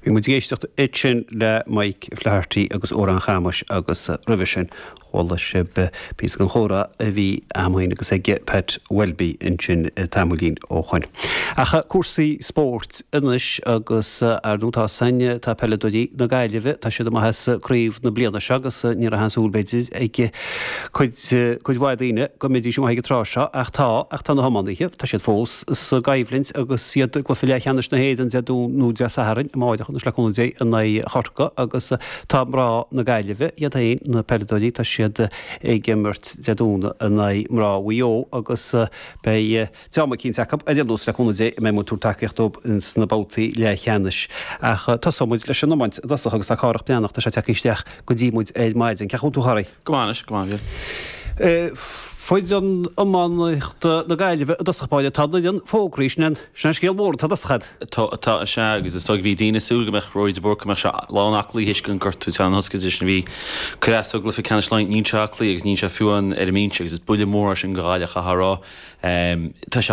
Bhí muid ag éisteacht ansin le Mike Flaherty agus Odhrán Chamais agus roimhe sin chuala sibh píosa den chomhrá a bhí a'm féin agus ag Pat Welby ansin tamaillín ó shoin. Ach cúrsaí spóirt anois agus ar ndóigh tá san, tá peileadóirí na Gaillimhe, tá siad amach as craobh na bliana seo agus ní raibh aon súil b'fhéidir ag cuid, cuid mhaith daoine go mbeidís amuigh ag an tráth seo ach tá, ach tá na hiománaithe, tá siad fós sa gcoimhlint agus iad i gcluiche leathcheannais na hÉireann Dé Domhnaigh nó Dé Sathairn, amáireach anois le cúnamh Dé in aghaidh Chorcaí agus tá mná na Gaillimhe, iad féin, na peileadóirí, tá siad ag imirt Dé Domhnaigh in aghaidh mná Mhaigh Eo agus beidh díoma eicínt acu ar aon nós le cúnamh Dé a mbeidh muid ag tabhairt tacaíocht dóibh ins na babhtaí leathcheannais. Ach tosóidh muid leis an iomáint i dtosach agus tá Cárthach Breathnach, tá sé tagtha isteach go dtí muid ar maidin. Cén chaoi a bhfuil tú a Chárthaigh? Go maith anois, go maith, a Mhíl. Foireann iománaíochta na Gaillimhe i dtosach báire, tá an fhoireann fógraithe, sin an, sin an scéal mór atá i dtosach a'd. Tá, tá, is ea, agus is dóigh bhí daoine ag súil go mbeadh Rory de Búrca, go mbeadh sé lán aclaí théis an gortú atá ann thoscaide sin a bhí ag cur as dó i gcluiche ceannais Laighean, níl sé aclaí agus níl sé fiú amháin ar an mbinse agus is buille mór é sin do Ghaillimh, chaithfeá a rá. Tá sé.